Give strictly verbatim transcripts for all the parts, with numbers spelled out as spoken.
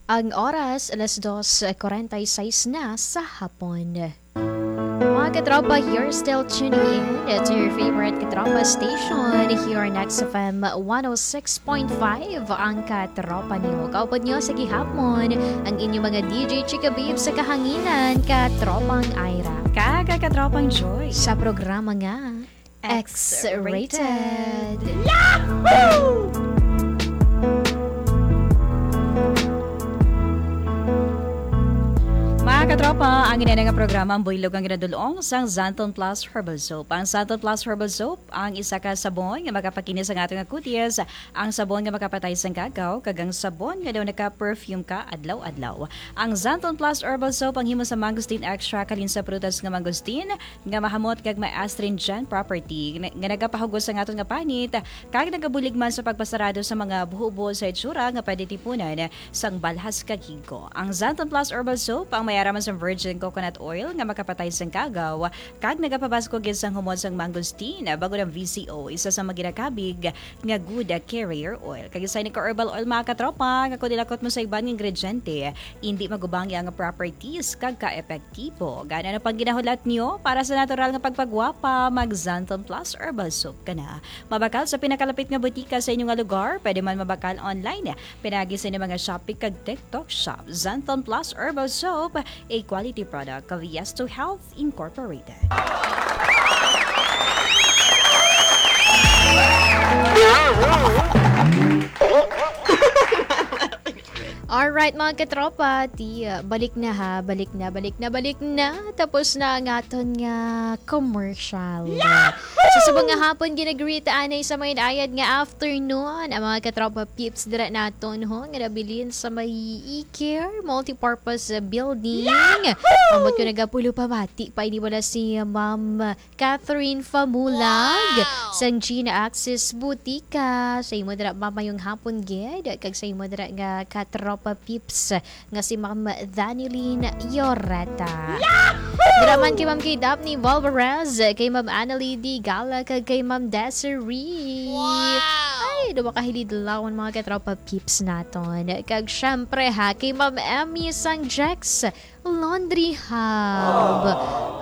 Ang oras, alas dos kuwarenta y seis na sa hapon. Mga katropa, you're still tuning in to your favorite katropa station here on X F M one oh six point five, ang Katropa Niyo. Kaupod niyo sa gihapon ang inyong mga D J Chika Babe sa kahanginan, Katropang Ira. Kag Katropang Joy. Sa programa nga X-rated. X-rated. Yahoo! Mga katropa, ang ina nga programa ang buylog ang ginadulong sang Xanthone Plus Herbal Soap. Ang Xanthone Plus Herbal Soap ang isa ka sabon nga makapakinis ang ato nga kutis, ang sabon nga makapatay sang gagaw, kag ang sabon nga daw naka-perfume ka adlaw-adlaw. Ang Xanthone Plus Herbal Soap ang himo sa mangosteen extract halin sa prutas nga mangosteen, nga mahamot kag may astringent property nga, nga nagapahugos sa aton nga panit kag nagabulig man sa pagpasarado sa mga buhobo sa itsura nga pwede tipunan sang balhas kag higko. Ang Xanthone Plus Herbal Soap ang may ara man sang virgin coconut oil nga makapatay sang gagaw kag nagapabaskog gid sang humot sang mangosteen, bangod ang V C O, isa sa mga ginakabig nga good carrier oil. Kag isa ini ka herbal oil, mga katropa, nga kung ilakot mo sa iban nga ingrediente, indi magubangi ang properties kag ka-epektibo. Gani, ano pang ginahulat niyo? Para sa natural nga pagpagwapa, mag Xanthone Plus Herbal Soap ka na. Mabakal sa pinakalapit nga butika sa inyo nga lugar, pwede man mabakal online, pinagi sa inyong mga Shopee kag TikTok Shop. Xanthone Plus Herbal Soap, a quality product of Yes to Health Incorporated. Alright, mga katropa, ti, uh, balik na ha, balik na, balik na, balik na. Tapos na ang aton nga commercial. Yahoo! So, sa mga hapon, ginagreet anay sa may ayad nga afternoon, ang mga katropa peeps dira naton, ho, nga nabilin sa may E-Care Multipurpose Building. Yahoo! Ambot ko nagapulo pamati pa ini wala si Ma'am Catherine Famulag, wow, sang Gina Axis Butika. Sa imo dira mamayong hapon gid, kag sa imo dira nga katropa peeps nga si Ma'am Danilyn Yoreta. Yahoo! Dira man kay Ma'am kay Daphne Valvarez, kay Ma'am Annalie D Gala, kag kay Ma'am Desiree. Wow! Ay, duwa ka hilidlawon, mga katropa peeps naton. Kag syempre ha, kay Ma'am Emmy sang Jex Laundry Hub.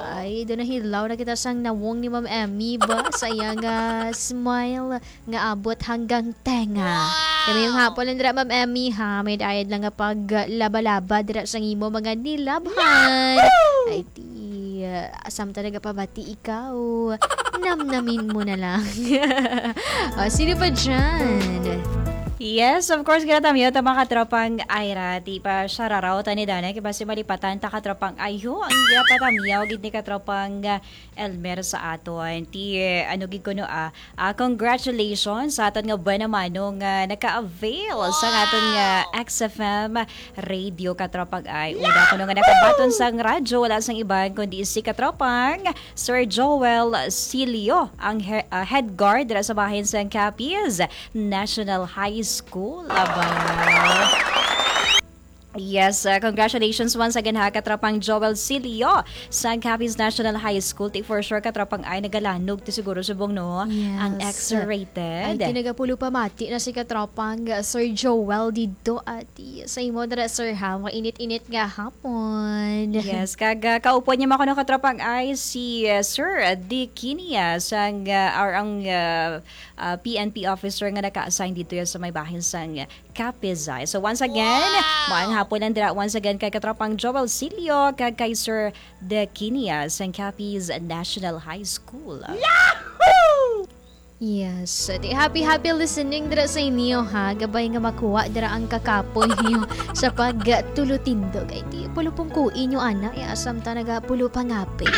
Ay, do nahilaw na kita sang nawong ni Ma'am Emmy ba sa iya nga smile nga abot hanggang tenga. Wow! Kami yung hapon lang dira, Ma'am Emmy, ha? May dayad lang nga paglaba-laba dira sa imo mga nilabhan. Yahoo! Ay, ti, ah, samtang nagapabati ikaw, namnamin mo na lang. O, sino pa dyan? Yes, of course, ginatamyo ta, mga katropang Ira. Di pa siya raraw, tani dana, kay basi malipatan ta, katropang Ayho. Ang ginapatamyaw, gid ni katropang, ah, Elmer sa aton. Ti, eh, ano gid kuno, ah, ah, congratulations sa aton nga buena mano nga naka-avail sa aton nga Wow! X F M radio, katropang ay. Una kuno nga nakabaton sang radyo, wala sang iban kundi si katropang Sir Joel Silio, ang he-, ah, head guard dira sa bahin sang Capiz National High School. Aba. Yes, uh, congratulations once again ha, katropang Joel Silio sa Capiz National High School. Ti for sure, katropang ay nagalanog ti siguro subong, no? Ang Yes. X-rated. Ay, tinaga pulo pa mati na si katropang, uh, Sir Joel dito, ati. Sa imo dira, sir, ha? Mga init-init nga hapon. Yes, kag, uh, kaupod niya, mga kuno, katropang ay si, uh, Sir, uh, Dick Kinia sang, uh, or ang, uh, uh, P N P officer nga naka-assign dito yan sa may bahin sang Capizay. So once again, Wow! Maayong hapon lang dira once again kay katropang Joel Silio kag kay Sir De Quinia sang Capiz National High School. Yahoo! Yes. Di happy, happy listening dira sa inyo, ha. Gabay nga makuha dira ang kakapoy niyo sa pagtulutindog. Ay, di, pulupong kui niyo, ana. Eh, asam ta nagapulo pangapi.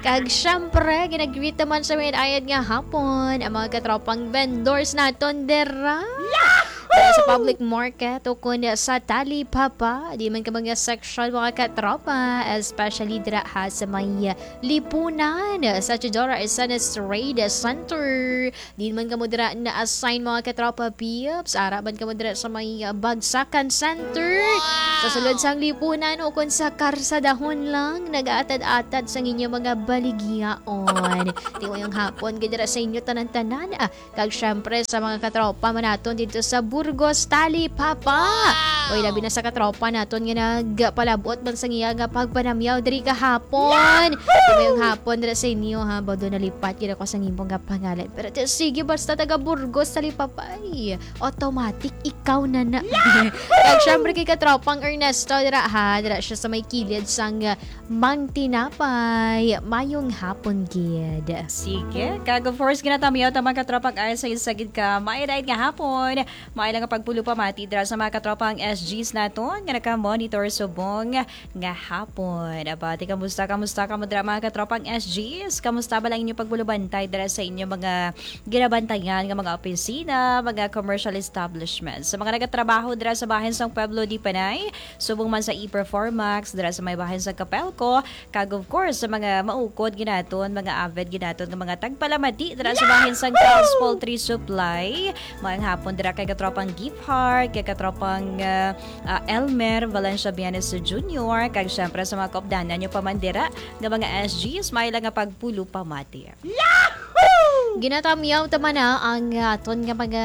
Kag, syempre, ginagreet naman sa may ayad nga hapon ang mga katropang vendors naton dira. Yahoo! Sa public market o kun sa talipapa, di man ka mga section, mga katropa, especially dira ha sa may Lipunan, sa Teodoro Arcenes Trade Center. Di man kamo dira na-assign, mga katropa peeps, ara man kamo dira sa may, uh, Bagsakan Center. Wow! Sa sulod sang Lipunan o kun sa karsadahon lang, nag-aatad-atad sa inyo mga baligyaon. Tiwayong hapon gid dira sa inyo tanan-tanan. Ah, Kag syempre sa mga katropa man naton dito sa Bur-, Burgos, Talipapa. Wow! Oy, labi na sa katropa naton nga nagpalabot man sa iya nga pagpanamyaw diri kahapon. Yahoo! Mayong hapon dira sa inyo, ha. Bado nalipat gid ako sa imong nga pangalan. Pero ti-, sige, basta taga Burgos, Talipapa, ay, automatic, ikaw na na. Yahoo! Kag syempre kay katropang Ernesto dira, ha. Dira siya sa may kilid sang, ah, Mang Tinapay. Mayong hapon gid. Sige. Kag of course, ginatamyaw ta, mga katropang, ay sa isa gid ka maayong nga hapon. Maayo lang nga pagpulupamati dira sa mga katropang S Gs naton nga naka-monitor subong nga hapon. Abati, kamusta, kamusta kamo dira, mga katropang S Gs? Kamusta ba lang inyo pagpulubantay dira sa inyo mga ginabantayan nga mga opisina, mga commercial establishments? Sa mga nagatrabaho dira sa bahin sang Pueblo de Panay, subong man sa E-Performax dira sa may bahin sa Capelco, kag of course, sa mga maukod ginaton, mga avid ginaton nga mga tagpalamati dira sa bahin sang Carl's Poultry Supply. Maayong hapon dira kay katropang Gift Heart, kay katropang, ah, ah, Elmer Valencia Bienes Junior, kag syempre sa mga kaupdanan nyo pa man dira nga mga S Gs, maayo lang nga pagpulupamati. Yahoo! Ginatamyaw ta man na ang aton nga mga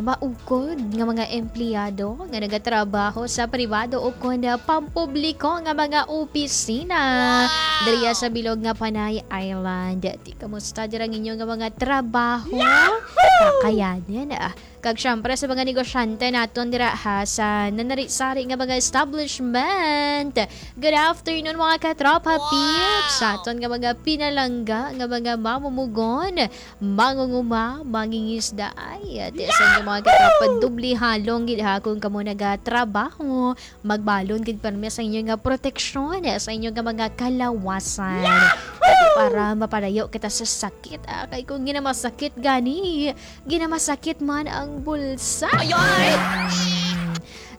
maukod nga mga empleyado nga nagatrabaho sa pribado o kon pampubliko nga mga opisina. Wow! Diriya sa bilog nga Panay Island. Ti, kamusta dira ang inyo nga mga trabaho? Yahoo! Kakayanin, ah. Kag syempre sa mga negosyante naton dira, ha, sa nanari-sari nga mga establishment. Good afternoon, mga katropa, wow, peeps. Sa aton nga mga pinalangga nga mga mamumugon, mangunguma, mangingisda. Ay, ati sa inyo, mga katropa, doble halong gid, ha, kung kamo nagatrabaho. Magbalon gid pirmi sa inyo nga proteksyon, sa inyo nga mga kalawasan. Yahoo! Para mapalayo kita sa sakit, ah. Kay kung ginamasakit gani, ginamasakit man ang bulsa. Ayoy!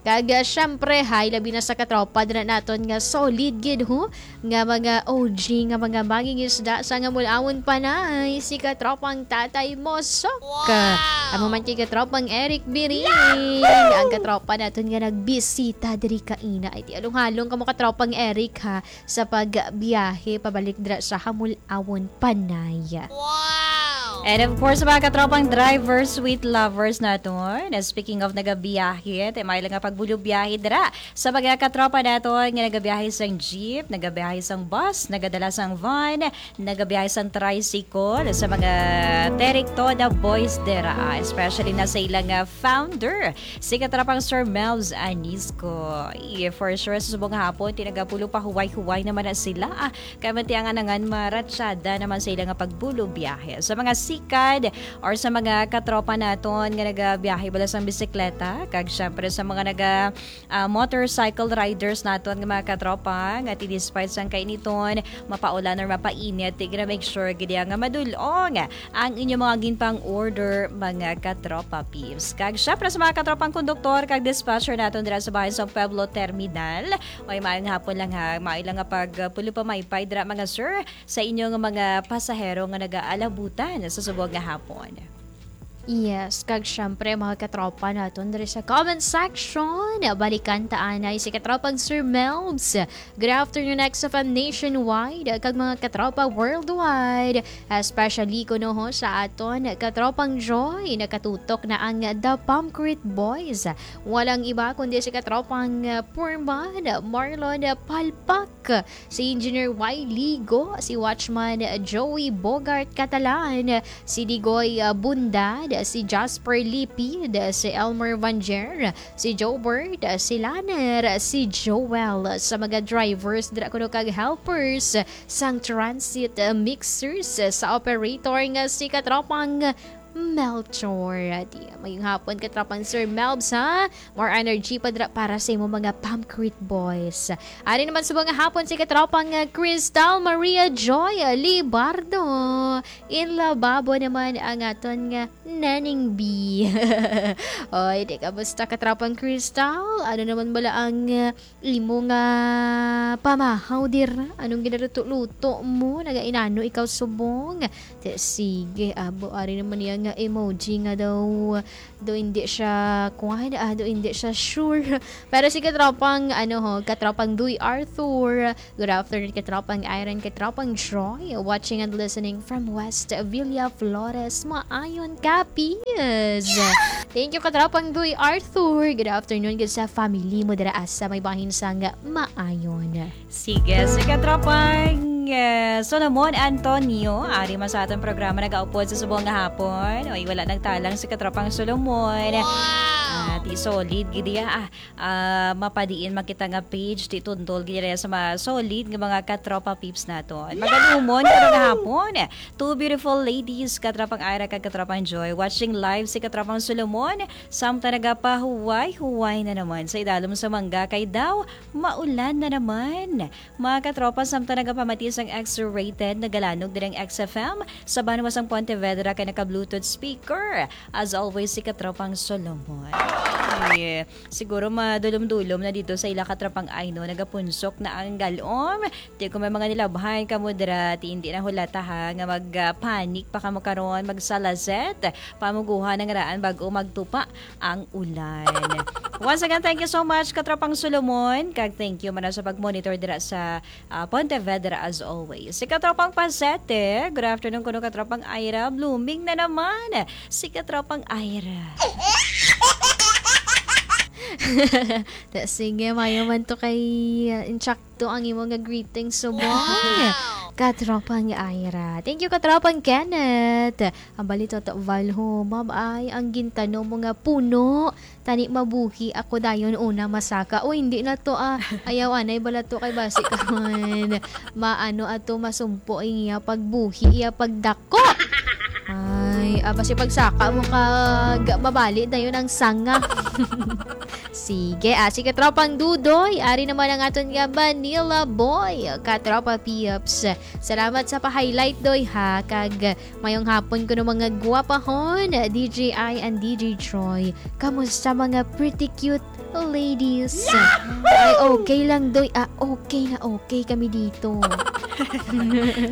Kag, ah, syempre, hay, labi na sa katropa dira naton nga solid gid, ho, nga mga O G, nga mga mangingisda sa nga Mulawon Panay, si katropang Tatay Mosok. Wow! Amo man kay katropang Eric Biring, ang katropa naton nga nagbisita diri kaina. Ay, ti, halong-halong kamo, katropang Eric, ha, sa pagbiyahe pabalik dira sa Hamul-awon Panay. Wow! And of course, mga katropang drivers, sweet lovers naton, na speaking of nagabiyahe, ti maayo lang nga pagbulubiyahe dira sa mga katropa naton nga nagabiyahe sang jeep, nagabiyahe sang bus, nagadala sang van, nagabiyahe sang tricycle, sa mga Terek Toda boys dira, ah, especially na sa ilang, ah, founder, si katropang Sir Melvs Anisco. Yeah, for sure, sa subong hapon, ti nagapulo pa huway-huway naman na sila. Ah, kay matiangan na nga, maratsada naman sa ila nga pagbulo biyahe. Sa mga sikad or sa mga katropa naton nga nagabiyahe bala sang bisikleta, kag syempre sa mga naga, ah, motorcycle riders naton nga mga katropa, nga ti despite sang kainiton, mapaulan or mapainit, ti gina-make sure gid nga madul-ong ang inyo mga ginpang-order, mga katropa peeps. Kag syempre sa mga katropang konduktor kag dispatcher naton dira sa bahin sang Pueblo Terminal, may maayong hapon lang ha. Maayo lang nga pag, uh, pulo pa maypay dira, mga sir, sa inyo nga mga pasahero nga nagaalabutan sa subong nga hapon. Yes, kag syempre, mga katropa naton diri sa comment section, balikan ta anay si katropang Sir Melbs. Good afternoon, X F M Nationwide, kag mga katropa worldwide. Especially kuno ho sa aton katropang Joy, nakatutok na ang The Pamcrit Boys. Walang iba kundi si katropang, uh, Purman Marlon Palpak, si Engineer Y Ligo, si Watchman Joey Bogart Catalan, si Digoy, uh, Bundad, si Jasper Lipid, si Elmer Vanjer, si Jobert, si Laner, si Joel, sa mga drivers dira kuno kag helpers sang transit, uh, mixers, uh, sa operator nga si katropang Melchor. Di, mayong hapon, katropang Sir Melbs, ha? More energy pa dira para sa imo mga Pamcrit Boys. Ari naman sa mga hapon si katropang, uh, Crystal Maria Joy Libardo. In lababo naman ang aton nga Nanning B. Oy, di, kamusta, katropang Crystal? Ano naman bala ang, uh, imo nga pamahaw dira? Anong ginaluto-luto mo? Nagainano ikaw subong? Te, sige, abo, ari naman niya nga emoji nga daw, daw hindi siya kuwan, ah, daw hindi siya sure. Pero si katropang, ano ho, katropang Duy Arthur, good afternoon, katropang Iron, katropang Troy, watching and listening from West Villa Flores. Maayon, Capiz. Thank you, katropang Duy Arthur. Good afternoon gid sa family mo dira sa may bahin sang Maayon. Sige, si katropang, eh, Solomon Antonio, ari man sa atong programa nagaupod sa subong nga hapon. Oy, wala nagtalang si katropang Solomon. Ah, ti solid gid iya. Ah, ah, mapadiin makita nga page, ti tundol gid iya sa mga solid nga mga katropa peeps naton. Magalumon karon nga hapon. Two beautiful ladies, katropang Ira kag katropang Joy, watching live si katropang Solomon. Samtang nagapahuway-huway na naman sa idalom sa mangga kay daw maulan na naman. Mga katropa, samtang nagapamati sang X-rated, nagalanog diri ang X F M sa banwa sang Pontevedra kay naka-Bluetooth speaker. As always, si katropang Solomon. Yeah. Siguro madulom-dulom na dito sa ila katropang Aino, nagapunsok na ang galom. Di ko may mga nilabhan kamo dira, ti hindi na hulata ha, nga mag, ah, panic pa kamo karon, magsalazet, pamuguhan ang raan bago magtupa ang ulan. Once again, thank you so much, katropang Solomon, kag thank you man sa pag-monitor dira sa, ah, Pontevedra as always. Si katropang Pasete, good afternoon kuno katropang Ira, blooming na naman si katropang Ira. Ta, sige, mayo man to kay, ah, insakto ang imo nga greeting, subong. Wow! Katropang Ira. Thank you, katropang Kenneth. Ang balita to, Valho, ma'am, ay ang gintanom mo nga puno. Tani mabuhi ako dayon una masaka. O, hindi na to, ah. Ayaw, anay bala to kay basi ka man. Maano ato masumpo ang iya pagbuhi, iya pagdako. Ay, ah, basi pagsaka mo kag mabali dayon ang sanga. Sige, ah, sige, tropang Dudoy. Ari naman ang aton nga Manila boy, katropa Pips. Salamat sa pa-highlight, Doy, ha. Kag mayong hapon kuno mga gwapahon, D J I and D J Troy. Kamusta mga pretty cute ladies? Ay, okay lang, Doy. Ah, okay na okay kami dito.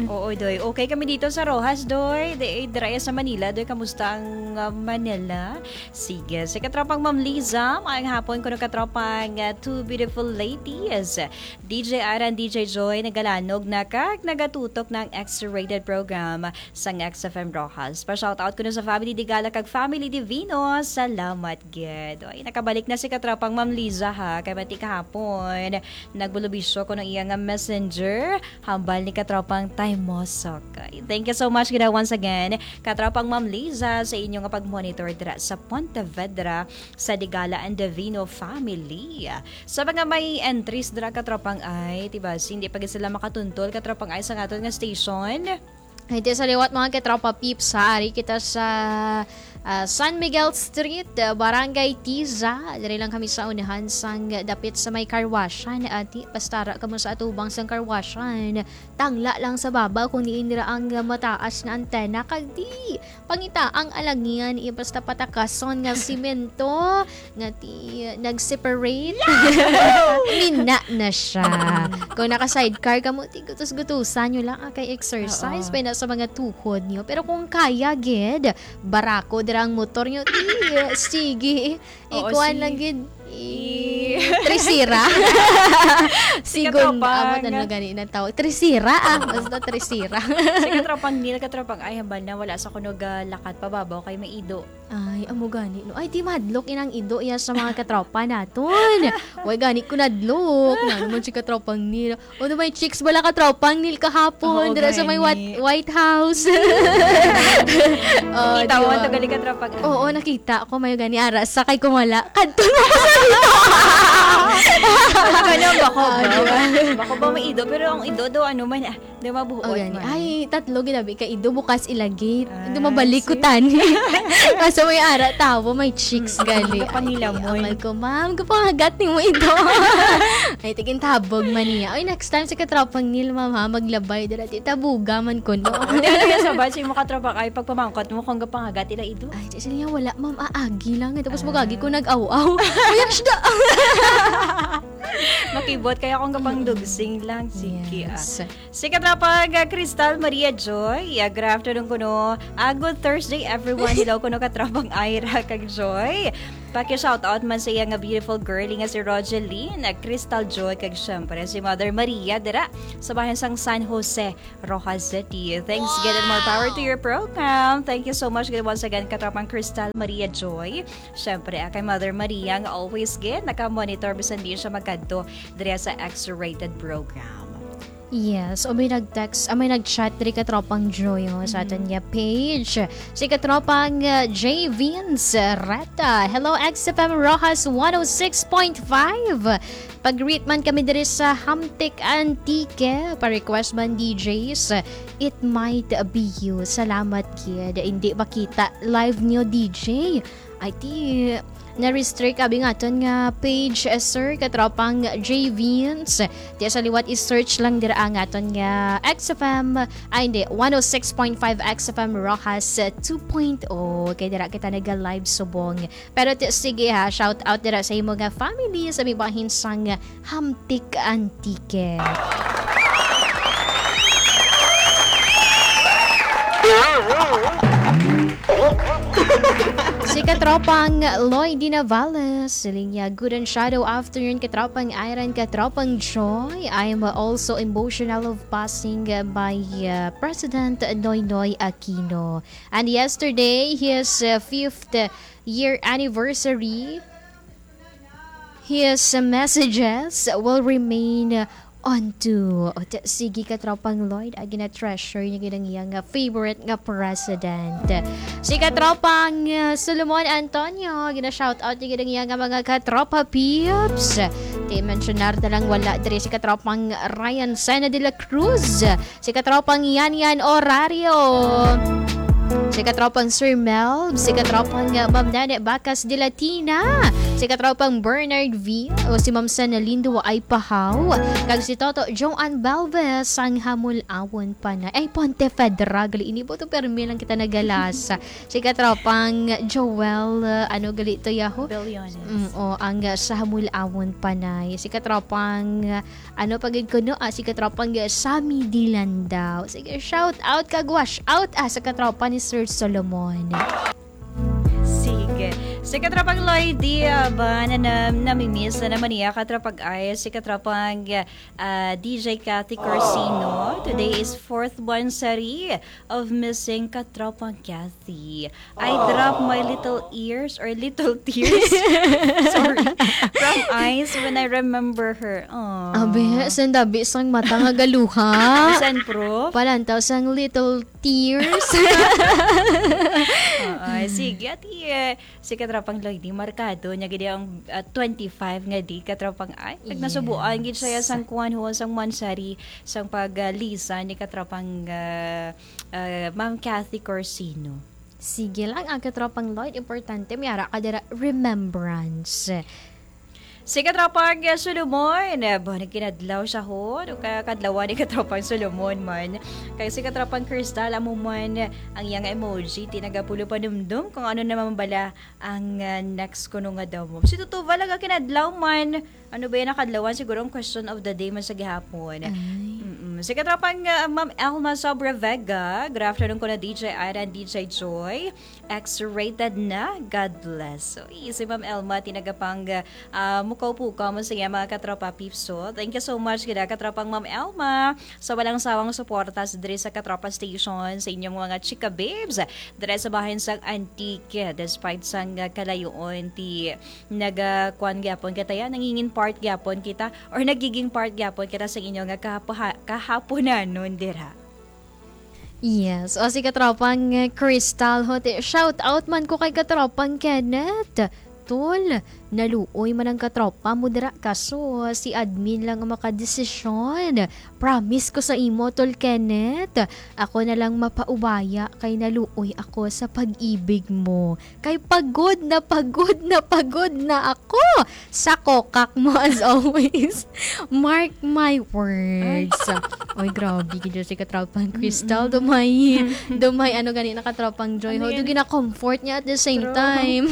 Oo, Doy. Okay kami dito sa Roxas, Doy. Di, dira sa Manila, Doy. Kamusta ang, ah, Manila? Sige. Sa katropang Ma'am Liza, mayong hapon kuno katropang, ah, two beautiful ladies. D J Ira and D J Joy nagalanog na kag nagatutok na ang X-rated program sang X F M Roxas. Pa-shoutout kuno sa Family Digala kag Family Divino. Salamat gid. Oy, nakabalik na si katropang Ma'am Liza, ha. Kay bati kahapon, nagbulubisyo kuno iya nga messenger. Hambal ni katropang Taymosok. Oy, thank you so much gid once again, katropang Ma'am Liza, sa inyo nga pag-monitor dira sa Pontevedra, sa Digala and Divino family. Sa mga may entries dira, katropang, ay, diba, hindi pa gid sila makatuntol, katropang, ay, sa aton nga station. Ay, di sa liwat, mga katropa peeps, ha, ari kita sa, ah, San Miguel Street, ah, Barangay Tiza. Diri lang kami sa unahan sang dapit sa may karwashan. Ati, basta ra kamo sa atubang sang karwashan, tangla lang sa baba kung diin dira ang mataas nga antena. Kag di, pangita ang alangian, iya basta patakason nga simento nga ti nag-separate. Mina na siya. Kung naka-sidecar kamo, ti gutos-gutusan nyo lang, ah, kay exercise Oo. pa na sa mga tuhod nyo. Pero kung kaya gid, barako dira ang motor nyo, ti, sige. Oo, Ikuan si lang gid. I- I- Tresera. Si Sigon, Katropang. Amo na gani na tawag. Tresera, ah. Basta Tresera. Si Katropang Neil, Katropang, ay, hambal na wala sa kuno ga lakat pa babaw kay may ido. Ay, amo gani, no? Ay, di madlok inang ido iya sa mga katropa naton. Way gani ko nadlok. Nga naman si Katropang Neil. O, may chicks bala, Katropang Neil, kahapon Oo, dira sa may gani. Wat-, White House. Oh, Kita di mo ba? Ang tagali, Katropang. Oo, nakita ko, may gani ara sa kay Kumala. Kadto mo ko sa dito. Ano, bako Ah, ba? Di ba? Bako ba may ido? Pero ang ido daw, ano man, ah, di mabuot Oh, gani. Man. Ay, tatlo ginabi ka ido, bukas ilagit. Ah, Ido mabalik ko see? Tani. Kaso may ara, tawo, may chicks Mm, gali. Kapanila Ay, mo, amal eh. Ko, ma'am, kapangagat ni mo ido. Ay, tigin tabog man niya. Ay, next time sa katropang Neil, ma'am, ha, maglabay dira. Ti tabuga man ko, no? Hindi na sa batch mo katropa kay pagpamangkot mo kung gapangagat ila ido. Ay, di sila wala, ma'am, aagi lang. Tapos Ay. Magagi ko nag-aw-aw. Uy, ang shda! Makibot kaya akong kapangdugsing lang. Sige, ah. Yes. Si katropang, ah, Crystal Maria Joy. Ah, good afternoon kuno. Ah, good Thursday, everyone. Hello kuno katropang Ira kag Joy. Paki-shoutout man sa iya nga beautiful girlie nga si Rogeline, ah, Crystal Joy, kag syempre si Mother Maria dira sa bahin sang San Jose, Roxas City. Thanks, gid, and more power to your program. Thank you so much, gid, once again, katropang Crystal Maria Joy. Syempre, ah, kay Mother Maria nga always, gid, naka-monitor bisan di siya magkadto diri sa X-rated program. Yes, o may nag-text, ah, may nag-chat diri katropang Joy, oh, sa aton nga page. Si katropang, ah, J Vince Reta. Hello, X F M Roxas one oh six point five. Pag-greet man kami diri sa Hamtic, Antique. Pa-request man, D Js, It Might Be You. Salamat, kid. Hindi makita live niyo, D J. Ay, ti, na-restrict abi nga aton nga page, eh, sir, katropang J Vince. Ti sa liwat, i-search lang dira ang aton nga X F M, ay, hindi, one oh six point five X F M Roxas two point oh. Kay dira kita naga-live subong. Pero ti, sige ha, shout out dira sa imo nga family, sa may bahin sang Hamtic, Antique. Si katropang Lloyd Dinavales, siling niya, "Good and shadow afternoon, katropang Iron, katropang Joy. I am also emotional of passing by, uh, President Noynoy Aquino. And yesterday, his, uh, fifth year anniversary. His messages will remain unto." O, ta-, sige, katropang Lloyd, agi na treasure niya gid ang iya nga favorite nga president. Si katropang, uh, Solomon Antonio, gina-shout out niya gid ang iya nga mga katropa peeps. Ti, mensionar na lang wala diri si katropang Ryan Sena de la Cruz. Si katropang Yan Yan Orario. Si katropang Sir Melb, si katropang, uh, Ma'am Nene Bacas de Latina, si katropang Bernard V, o si Ma'am Sana Lindo ay pahaw, kag si Toto Joan Balves sang Hamulawon Panay. Ay, Pontevedra, gali ini po to, permi lang kita nagalasa. Si katropang Joel, uh, ano gali to, yaho? Billones. Mm, o, ang, uh, sa Hamulawon Panay. Si katropang, uh, Ano pa gid kuno, ah, si katropang, ah, Sammy Dilandao. Sige, shout out kag wash out, ah, sa katropa ni Sir Solomon. Sige. Si katropang Lloyd, di, ah, ba, na, na, namimiss na naman niya, katropang ay, si katropang, ah, D J Cathy Corsino. Today is fourth monthsary of missing katropang Cathy. I drop my little ears or little tears. Sorry. From eyes when I remember her. Aw. Abi, sang dabi sang mata nga galuha. Bisan, Prof. Palantaw sang little tears. Oo, sige, ati, eh, si Katropang Lloyd, di markado niya gid ang, ah, twenty-five nga di, Katropang, ay, pag nasubuan gid siya Yes. sang kuwan ho, sang monthsary, sang pag, ah, lisan ni Katropang, ah, ah, Ma'am Cathy Corsino. Sige lang, ang Katropang Lloyd, importante, may ara ka dira, remembrance. Si Katropang, ah, Solomon, ah, ba, nagkinadlaw siya, ho? Ano ka, kadlawan ni Katropang Solomon man? Kay si Katropang Crystal, amo man, ang iyang emoji, tinaga pulo panumdum kung ano naman bala ang, ah, next kuno nga daw mo. Si Tutuval, aga kinadlaw man. Ano ba yan, nakadlawan? Siguro ang question of the day man sa gihapon. Ay. Mm-mm. Si Katropang, ah, Ma'am Elma Sobre Vega, good afternoon ko na, D J Ira and D J Joy. X-rated na. God bless. So, si Ma'am Elma, tinagapang, ah, mukaw-pukaw mo sa iya, mga katropa peeps. So, thank you so much, gid, katropang Ma'am Elma, sa walang sawang suporta sa diri sa Katropa Station, sa inyong mga chika babes, diri sa bahin sang Antique, despite sang, ah, kalayoon, ti naga-, kuan gyapon kita, ya, nangingin part gyapon kita, or nagiging part gyapon kita sa inyo nga kahapuha-, kahaponanon dira. Yes. O, si katropang, eh, Crystal Hote, shout out man ko kay katropang Kenneth. Tol, naluoy man ang katropa mo dira, kaso si admin lang ang makadesisyon. Promise ko sa imo, Tol Kenneth, ako na lang mapaubaya kay naluoy ako sa pag-ibig mo. Kay pagod na pagod na pagod na ako sa kokak mo as always. Mark my words. Ay. Oy, grabe, gid si katropang Crystal. Mm-mm. Dumay, dumay, ano gani na katropang Joy. Ano ho, yan? Do gina-comfort niya at the same True. time.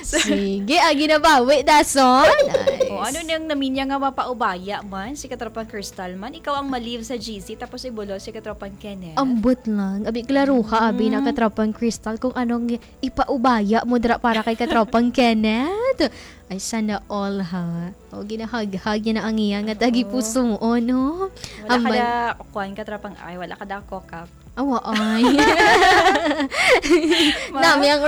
Sige, agi na ba? Wait, that's all. Ay, Ano nang naminya nga mapaubaya man si Katropang Crystal man? Ikaw ang ma-leave sa G C tapos ibulo si Katropang Kenneth? Ambot lang. Abi, klaruha, abi na Mm. Katropang Crystal kung anong ipaubaya mo dira para kay Katropang Kenneth. Ay, sana all, ha. O, ginahaghag niya na ang iya nga Oo. tagipusoon, no? Wala ka Ambal- na, kuwan, Katropang, ay, wala ka na kokak. Awa, ay. Ma? Nami ang